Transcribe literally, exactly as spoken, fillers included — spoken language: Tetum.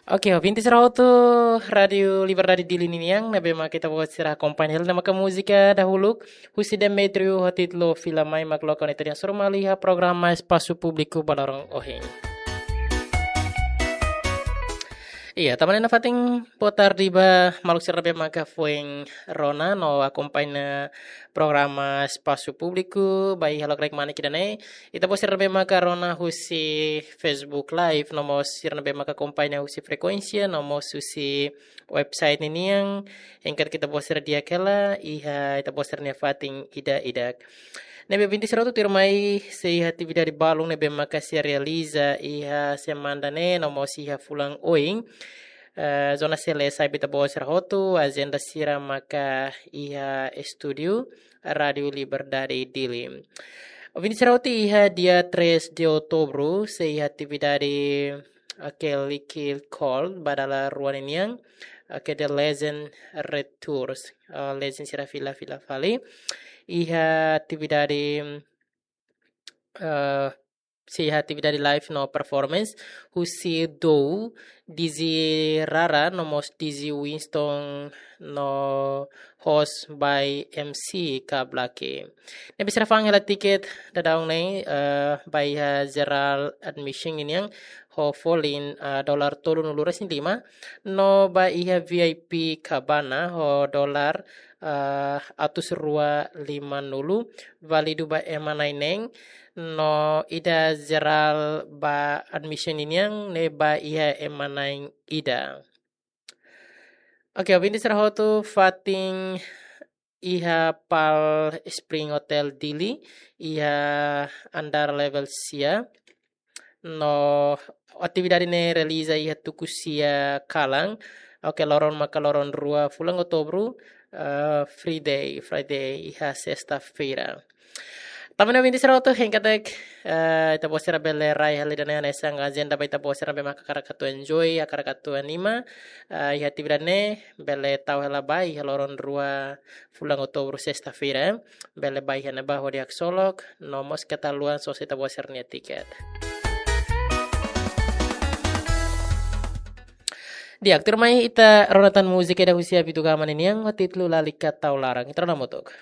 Oke, ouvinte sira hotu Rádio Liberdade Dili nian, ne'ebé mak ita-boot sira akompaña hela ne'e maka múzika dahuluk husi Demetrio ho títulu Fila Mai, mak loke ona ita-nia sorumalu iha programa Espasu Públiku ba loron ohin. Iya, tanba ne'e nafatin boa tarde ba maluk sira ne'ebé maka foin rona no akompaña programa Espasu Públiku ba iha lokraik manik ida-ne'e. Ita-boot sira ne'ebé maka rona husi Facebook Live, no mós sira ne'ebé maka akompaña husi frekuénsia, no mós husi website ninian, hein katak ita-boot sira di'ak hela iha ita-boot sira-nia fatin ida-idak. Ne'ebé ouvinte sira hotu, tuirmai sei iha atividade balun ne'ebé maka sei realiza iha semana ne'e, no mós iha fulan oin. Eh, Zona Select sai ba ita-boot sira hotu, ajenda sira maka iha estúdiu Rádio Liberdade Dili. Ouvinte sira hotu, iha dia três de outubro, sei iha atividade, ah, Kelly Call, ba dala rua nian, ah, ke The Legend Retours, ah, legend sira fila-fila fali. Iha atividade, ah, sei iha atividade live no performance husi Dou, D J Rara, no mós D J Winston, no host by M C Kablaki. Ne'ebé sira fa'an hela tiket daudaun ne'e, eh, ba iha general admission nian ho folin, eh, dolar tolunulu-resin-lima, no ba iha V I P cabana ho dolar, eh, atus rua lima-nulu, válidu ba ema na'in-neen, no ida general ba admission nian ne'e ba iha ema na'in-ida. Oke, ouvinte sira hotu, fatin iha Palm Spring Hotel Dili, iha andar level sia. No atividade ne'e realiza iha tuku sia kalan. Oke, loron maka loron rua fulan Outubru, eh, Friday, Friday, iha sesta-feira. Tanba ne'e ouvinte sira hotu, hein katak, eh, ita-boot sira bele rai hela ida-ne'e hanesan ajenda ba ita-boot sira ne'ebé maka hakarak atu enjoy, hakarak atu anima, eh, iha atividade ne'e, bele tau hela ba iha loron rua fulan Outubru, sesta-feira, eh. Bele ba iha ne'ebá hodi haksolok, no mós keta haluha sosa ita-boot sira-nia tiket. Di'ak, tuirmai ita rona tan múzika ida husi Abidugama nian ho títulu Lalika Tau Laran. Ita rona hamutuk.